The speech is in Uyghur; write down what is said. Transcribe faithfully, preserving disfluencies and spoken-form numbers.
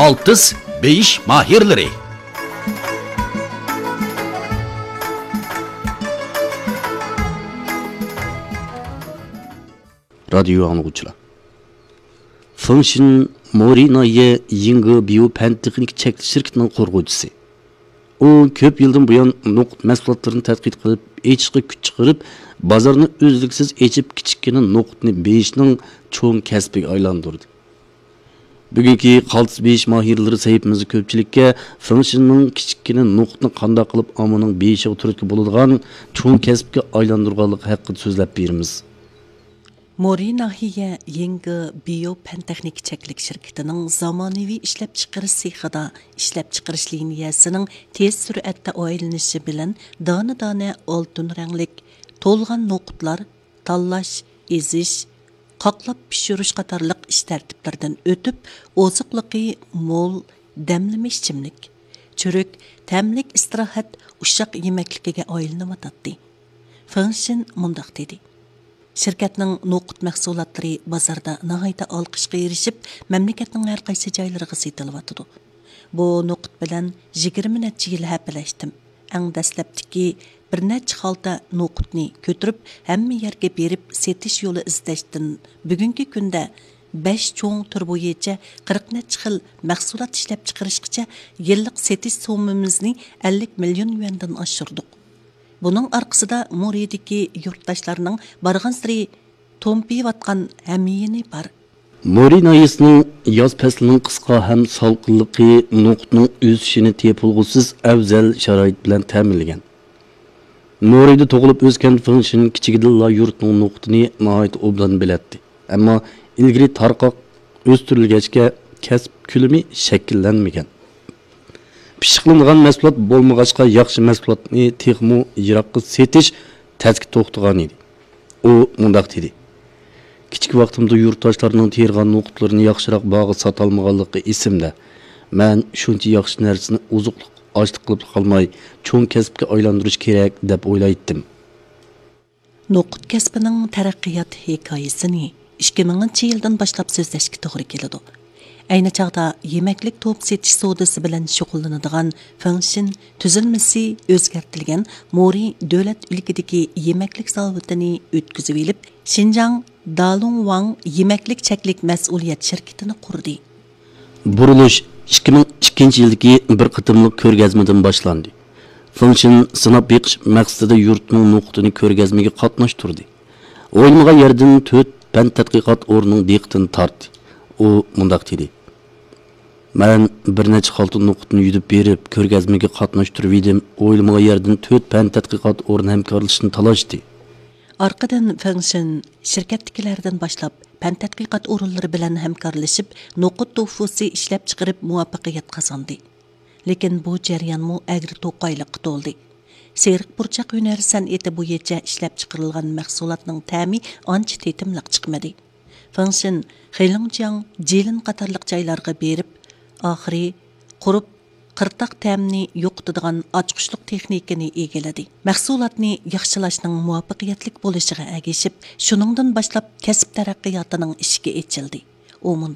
ئالتىس بېيىش ماھىرلىرى. رادىيو ئاڭلىغۇچىلار، فېڭ شىن مورى ناھىيە يىڭگې بىيو پەن تېخنىكا چەكلىك شىركىتىنىڭ قۇرغۇچىسى. ئۇ كۆپ يىلدىن بۇيان نوقۇت مەھسۇلاتلىرىنى تەتقىق قىلىپ، ئېچىشقا كۈچ چىقىرىپ، بازارنى ئۈزلۈكسىز ئېچىپ، كىچىككىنە نوقۇتنى بېيىشنىڭ چوڭ كەسپىگە ئايلاندۇردى. بۈگۈنكى قالتىس بېيىش ماھىرلىرى سەھىپىمىزدە كۆپچىلىككە فېڭ شىننىڭ كىچىككىنە نوقۇتنى قانداق قىلىپ ئاممىنىڭ بېيىشىغا تۈرتكە بولىدىغان چوڭ كەسىپكە ئايلاندۇرغانلىقى ھەققىدە سۆزلەپ بېرىمىز. مورى ناھىيە يىڭگې بىيو پەن تېخنىكا چەكلىك شىركىتىنىڭ زامانىۋى ئىشلەپچىقىرىش سېخىدا ئىشلەپچىقىرىش لىنىيەسىنىڭ تېز سۈرئەتتە ئايلىنىشى بىلەن دانە-دانە ئالتۇن رەڭلىك تولغان نوقۇتلار تاللاش، ئېزىش، قاقلاپ پىشۇرۇش قاتارلىق ئىش تەرتىپلىرىدىن ئۆتۈپ، ئوزۇقلۇقى مول دەملىمە ئىچىملىك، چۈرۈك، تەملىك ئىستىراھەت، ئۇششاق يېمەكلىكىگە ئايلىنىۋاتاتتى. فېڭ شىن مۇنداق دېدى: شىركەتنىڭ نوقۇت مەھسۇلاتلىرى بازاردا ناھايىتى ئالقىشقا ئېرىشىپ، مەملىكەتنىڭ ھەر قايسى جايلىرىغا سېتىلىۋاتىدۇ. بۇ نوقۇت بىلەن يىگىرمە نەچچە يىل ھەپىلەشتىم. ئەڭ دەسلەپتىكى بىر نەچچە خالتا نوقۇتنى كۆتۈرۈپ، ھەممە يەرگە بېرىپ سېتىش يولى ئىزدەشتىن، بۈگۈنكى كۈندە بەش چوڭ تۈر بويىچە قىرىق نەچچە خىل مەھسۇلات ئىشلەپچىقىرىشقىچە يىللىق سېتىش سوممىمىزنى ئەللىك مىليون يۈەندىن ئاشۇردۇق. بۇنىڭ ئارقىسىدا مورىدىكى يۇرتداشلارنىڭ بارغانسېرى تومپىيىۋاتقان ھەميىنى بار. مورى ناھىيەسىنىڭ ياز پەسلىنىڭ قىسقا ھەم سالقىنلىقى نوقۇتنىڭ ئۆسۈشىنى تېپىلغۇسىز ئەۋزەل شارائىت بىلەن تەمىنلىگەن. مورىدا تۇغۇلۇپ ئۆسكەن فېڭ شىن كىچىكىدىنلا يۇرتنىڭ نوقۇتىنى ناھايىتى ئوبدان بىلەتتى. ئەمما ئىلگىرى تارقاق ئۆستۈرۈلگەچكە، كەسىپ كۆلىمى شەكىللەنمىگەن. پىششىقلىنىدىغان مەھسۇلات بولمىغاچقا، ياخشى مەھسۇلاتنى تېخىمۇ يىراققا سېتىش تەسكە توختىغان ئىدى. ئۇ مۇنداق دېدى: كىچىك ۋاقتىمدا يۇرتداشلارنىڭ تېرىغان نوقۇتلىرىنى ياخشىراق باھاغا ساتالمىغانلىقى ئېسىمدە. مەن شۇنچە ياخشى نەرسىنى ئوزۇقلۇق ئاشلىق قىلىپ قالماي، چوڭ كەسىپكە ئايلاندۇرۇش كېرەك، دەپ ئويلايتتىم. نوقۇت كەسپىنىڭ تەرەققىيات ھېكايىسىنى ئىككى مىڭىنچى يىلدىن باشلاپ سۆزلەشكە توغرا كېلىدۇ. ئەينى چاغدا يېمەكلىك توپ سېتىش سودىسى بىلەن شۇغۇللىنىدىغان فېڭشىن تۈزۈلمىسى ئۆزگەرتىلگەن مورى دۆلەت ئۈلكىدىكى يېمەكلىك زاۋۇتىنى ئۆتكۈزۈۋېلىپ، شىنجاڭ دالۇڭۋاڭ يېمەكلىك چەكلىك مەسئۇلىيەت شىركىتىنى قۇردى. بۇرۇلۇش ئىككى مىڭ ئىككىنچى يىلدىكى بىر قېتىملىق كۆرگەزمىدىن باشلاندى. فېڭشىن سىناپ بېقىش مەقسىتىدە يۇرتنىڭ نوقۇتىنى كۆرگەزمىگە قاتناشتۇردى. ئويلىمىغان يەردىن تۆت پەن تەتقىقات ئورنىنىڭ دىققىتىنى تارتتى. ئۇ مۇنداق دېدى: مەن بىر نەچچە خالتا نوقۇتنى يۈدۈپ بېرىپ، كۆرگەزمىگە قاتناشتۇرۇۋىدىم. ئويلىمىغان يەردىن تۆت پەن تەتقىقات ئورنى ھەمكارلىشىشنى تالاشتى. ئارقىدىن فېڭشىن شىركەتتىكىلەردىن باشلاپ، پەن تەتقىقات ئورۇنلىرى بىلەن ھەمكارلىشىپ، نوقۇت توفۇسى ئىشلەپچىقىرىپ مۇۋەپپەقىيەت قازاندى. لېكىن بۇ جەريانمۇ ئەگرى-توقايلىققا تولدى. سېرىق پۇرچاق ھۈنەر سەنئىتى بويىچە ئىشلەپچىقىرىلغان مەھسۇلاتنىڭ تەمى ئانچە تېتىملىق چىقمىدى. فېڭشىن خېلىڭجياڭ، جىلىن قاتارلىق جايلارغا بېرىپ، ئاخىرى قۇرۇپ، قىرتاق تەمنى يوقىتىدىغان ئاچقۇچلۇق تېخنىكىنى ئىگىلىدى. مەھسۇلاتنى ياخشىلاشنىڭ مۇۋەپپەقىيەتلىك بولۇشىغا ئەگىشىپ، شۇنىڭدىن باشلاپ كەسىپ تەرەققىياتىنىڭ ئىشىكى ئېچىلدى. ئۇ مۇنداق